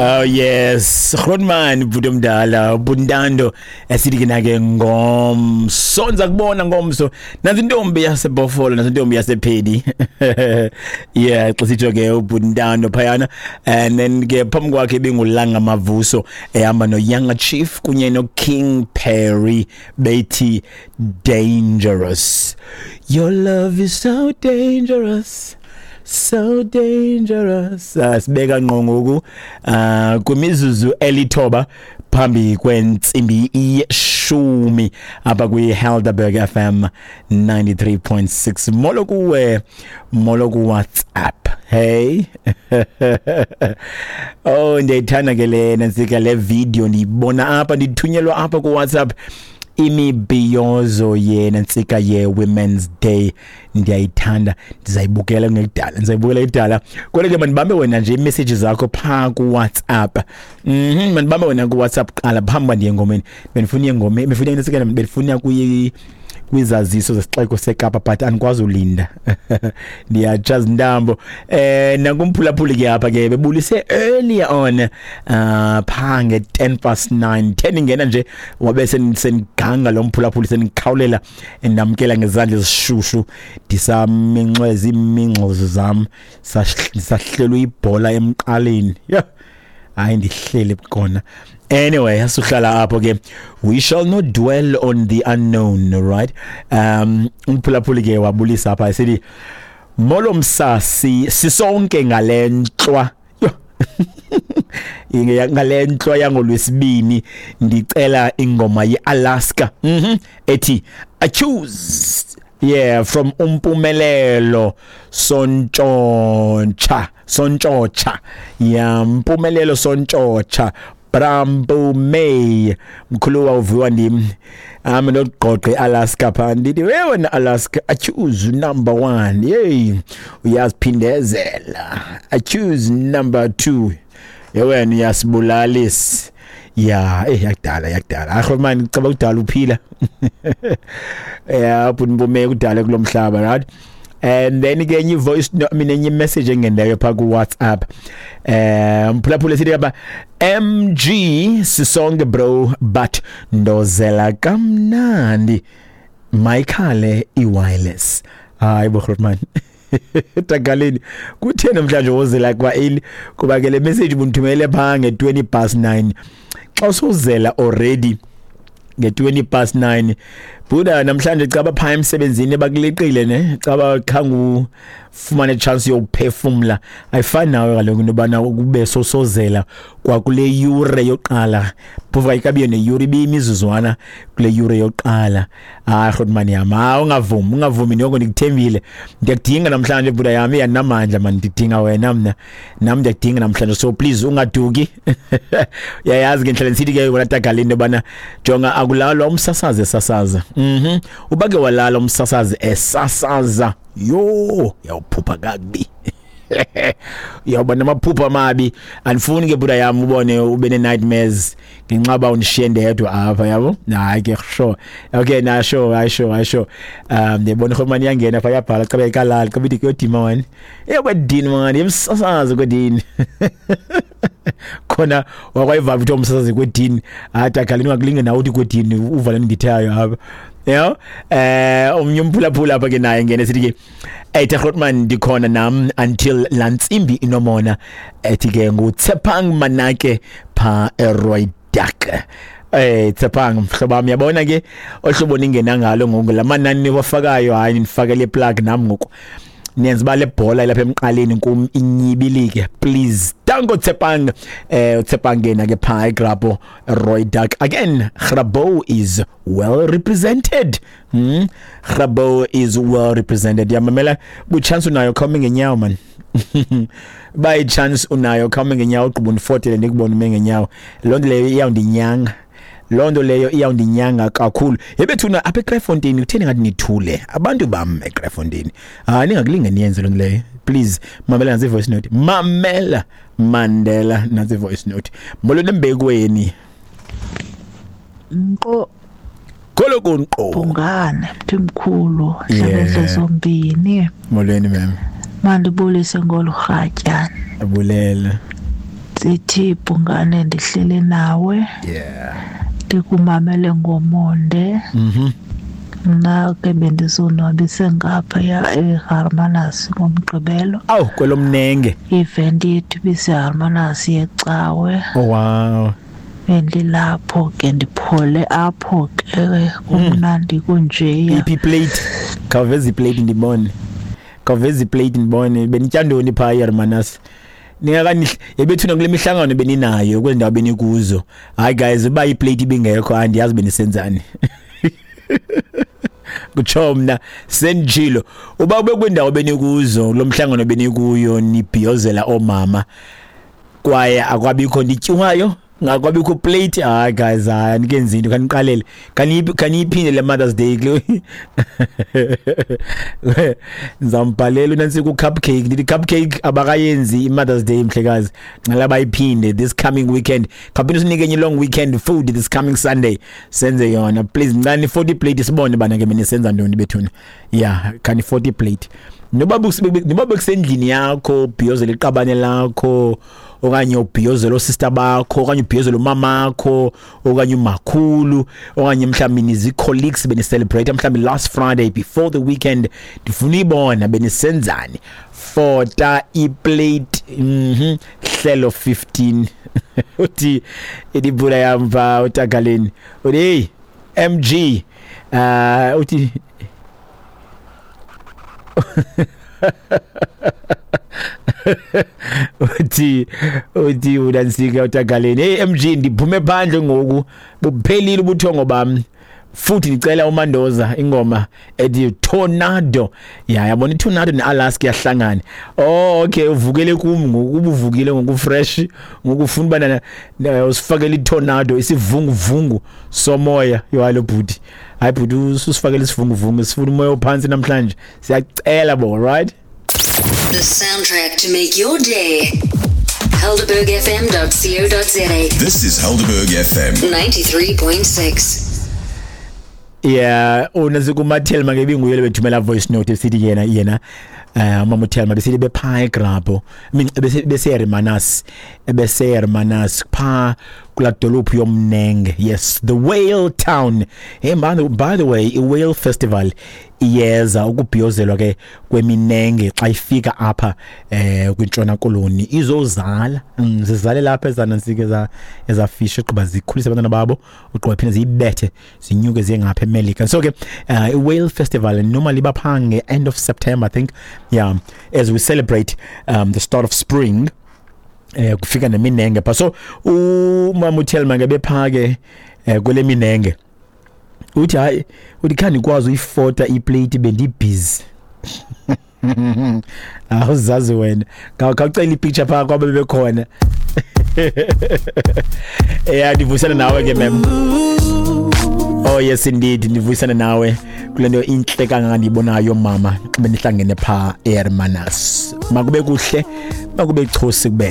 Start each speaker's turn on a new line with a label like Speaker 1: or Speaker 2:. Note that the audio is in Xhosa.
Speaker 1: Oh yes, Grootman bhuti omdala, Buntando esithi ke nake ngomso ndiza kubona ngomso. Nansi intombi yaseBhofolo, nansi intombi yasePhedi. Yeah, xa sitsho ke uBuntando phayana, and then ke phambi kwakhe ibingulanga Mavuso ehamba noYanga Chief kunye noKing Perry bethi Dangerous. Your love is so dangerous. So dangerous. Sibeka ngqo ngoku kwimizuzu 9 phambi kwentsimbi 10 apha kwi-Helderberg FM 93.6. Molo kuwe, molo ku WhatsApp. Hey. Oh, ndiyayithanda ke le nantsika le video ndiyibona apha, ndithunyelwa apha ku WhatsApp. Imibhiyozo yena ntsika ye Women's Day ndiyayithanda, ndizayibukela ngekudala, ndizayibukela idala. Kodwa ke mandibambe wena nje imessage zakho pha ku WhatsApp. Mandibambe wena ku WhatsApp qala phambi uba ndiye engomeni. Bendifuna engomeni, bendifuna ntsika, bendifuna kuyi kwizaziso zesixeko seKapa, but andikwazi ulinda. Ndiyatshaza intambo. Nakumphulaphuli ke apha ke bebulise earlier on pha nge 9:10, 10 ingena nje wabe seniganga lo mphulaphuli, senikhawulela endamkela ngezandla ezishushu, ndisaminxweza imingxozo zam, sahlelwe ibhola emqaleni. Yeah. Hayi ndihlele kona. Anyway, asuhlala apho ke. We shall not dwell on the unknown, right? Umphulaphuli ke wabulisa apha esithi molo msasi, sisonke ngalentlwa. Ngalentlwa yangolwesibini ndicela ingoma yeAlaska. Ethi I choose. Yeah, from Umpumelelo Sontshontsha, Sontshontsha. Yeah, Mpumelelo Sontshontsha. Brambo May mkhulu uviwa ndim ame noqoqe Alaska pha ndithi wena Alaska I choose number 1. Hey, uyaziphindezela. I choose number 2. Yewena uyasibulalisa. Ya, yakudala, yakudala. Akho man, caba kudala uphila. Yeah, ubunbume kudala kulomhlaba, right? And then ke enye voice no, I mean enye message engendayo pha ku WhatsApp. Mphulaphula sithi apha MG sisonke bro, but ndozela kamnandi. Mayikhale iwireless. Hayi bo Grootman. Tagaleni kuthe namhlanje wozela kwa eli kuba ke le message ubundithumele pha nge-9:20. Xa usuzela already nge-9:20 buda namhlanje caba pha emsebenzini bakuleqile ne, caba khangu ufumane chance yokuphefumla. Ayifani nawe kaloku into yobana kube sosozela kwakule yure yokuqala, phofu ayikabiyo neyure, ibiyimizuzwana kule yure yokuqala. Hayi Grootman yam, hayi ungavumi, ungavumi noko, ndikuthembile. Ndiyakudinga namhlanje buda yam, iyanamandla man, ndidinga wena mna, nam ndiyakudinga namhlanje, so please ungaduki. Uyayazi ke ndihlela ndisithi ke wena Tagaleni into yobana jonga akulalwa umsasazi esasaza. Uba ke walala umsasazi esasaza, yho, uyawuphupha kakubi. Uyawuba namaphupha amabi. Andifuni ke buda yam ubone ube ne-nightmares ngenxa uba undishiye ndedwa apha, yabo. Hayi ke sure. Okay, na sure, hayi sure, hayi sure. Ndiyabona irhomani iyangena pha, iyabhala xa beyikalala, xa bethi kuyodima wani. Eyakwedini mani, yemsasazi kwedini. Khona wakwayiva kuthiwa umsasazi kwedini. Hayi Tagaleni ungakulinge nawe uthi kwedini, uvale ndithayo apha. Yeah. Omnye umphulaphula apha ke naye ngene sithi ke ethi Grootman ndikhona nam until laa ntsimbi inomona, ethi ke nguTshepang Manake pha eRooidak. Tshepang mhlobo wam, uyabona ke ohlobo ningena ngalo ngoku la manani niwafakayo, hayi nifakele plug nam ngoku. Niyenza uba le bhola ilapha emqaleni kum inyibilike, please. Danko Tshepang. Tshepang yena ke pha eGrabouw Rooidak. Again, Grabouw is well represented. Grabouw is well represented. Yamamela bu chance unayo khawume ngenyawo man. By chance unayo khawume ngenyawo, ugqiba undifotele ndikubone ume ngenyawo. Loo nto leyo iyawundinyanga. Loo nto leyo iyawundinyanga kakhulu. Yebethuna apha eKraaifontein kutheni ngathi nithule? Abantu bam eKraaifontein. Hayi ningakulinge niyenze loo nto leyo. Please mamela nantsi voice note. Mamela Mandela nantsi voice note. Molo nembekweni.
Speaker 2: Nqo
Speaker 1: Kholo kunqo.
Speaker 2: Bhungane mthimkhulu
Speaker 1: Yeah.
Speaker 2: hlabendle zombini.
Speaker 1: Molweni ma'am.
Speaker 2: Mandibulise ngolu rhatya.
Speaker 1: Abulela.
Speaker 2: Sithi Bhungane, ndihleli nawe.
Speaker 1: Yeah.
Speaker 2: Ndikumamele ngomonde. Mna ke bendizonwabise ngaphaya eHarmanas ngoMgqibelo.
Speaker 1: Awu, kwelomnenge.
Speaker 2: I-event yethu ibiseHarmanas yecawe.
Speaker 1: Oh wow.
Speaker 2: Bendilapho ke, ndiphole apho ke, kumnandi kunjeya.
Speaker 1: Iphi plate? Khawuveza iplate ndibone. Khawuveza iplate ndibone. Benitya ntoni phaa eHermanus? Ningakani yebethuna kule mihlangano beninayo kwezi ndawo benikuzo. Hayi guys, uba iplate ibingekho andiyazi benisenzani. Kutsho mna sendijilo, uba ube kwindawo benikuzo lo mhlangano benikuyo nibhiyozela oomama kwaye akwabikho nityiwayo, ngakwabikho plate, hayi guys, hayi anikenzi into, khaniqalele, khaniyiphinde le Mother's Day kule. Ndizambhalela unantsi ku-cupcake, ndithi cupcake abakayenzi i-Mother's Day mhlekazi, ngcela bayiphinde this coming weekend. Khawuphinde usinike enye long weekend food this coming Sunday, senze yona please. Ngicela ni-40 plate sibone bana ke benisenza ntoni bethuna. Yeah, khani 40 plate, noba noba bekusendlini yakho ubhiyozela iqabane lakho, okanye ubhiyozela oosister bakho, okanye ubhiyozela umamakho okanye umakhulu, okanye mhlawumbi nizi-colleagues benicelebrate mhlawumbi last Friday before the weekend, ndifuna uyibona benisenzani. Fota iplate. Hlelo 15 uthi idibula yamva utagaleni, uthi hey MG, uthi uthi udansika utagaleni, hey MG, ndiphume phandle ngoku, buphelile ubuthongo bami, futhi ndicela uMandoza ingoma ethi Tornado. Ya, yabona iTornado neAlaska yahlangana. Oh okay, uvukele kum ngoku, ubuvukile ngoku fresh ngoku, ufuna uba usifakele iTornado, isivunguvungu somoya. Yo hayi lo bhuti, hayi bhuti, usifakele isivunguvungu, sifuna umoya ophansi namhlanje, siyacela bo, right?
Speaker 3: The soundtrack to make your day. HelderbergFM.co.za.
Speaker 4: This is Helderberg FM.
Speaker 3: 93.6.
Speaker 1: Yeah, unase kumathelma ke binguye lebethumela voice note esithi yena mama uThelma besithi bepha eGrabo, I mean bese Hermanus, bese Hermanus pha kula dolophu yomnenge. Yes, the Whale Town. Hey man, by the way, i Whale Festival iyeza, ukubhiyozelwa ke kweminenge xa ifika apha kwintshona koloni izozala, zizale lapha ezanansike eza ezafish, ugqiba zikhulise abantwana babo, ugqiba phinde ziyibethe zinyuke ziye ngapha eMelika. So ke i-Whale Festival normally bapha nge-end of September, I think. Yeah, as we celebrate the start of spring, kufika neminenge pha. So umama uThelma ke bepha ke kwele minenge, uthi hayi, uthi khange ndikwazi uyifota iplate, bendibhizi. Awuzazi wena, khawucela ipicture phaa kwabe bebekhona. Yeah, ndivuyisana nawe ke mem. Oh yes indeed, ndivuyisana nawe kule nto intle kangaka ndiyibonayo mama, xa benihlangene phaa eHermanus. Makube kuhle, makube chosi kubele.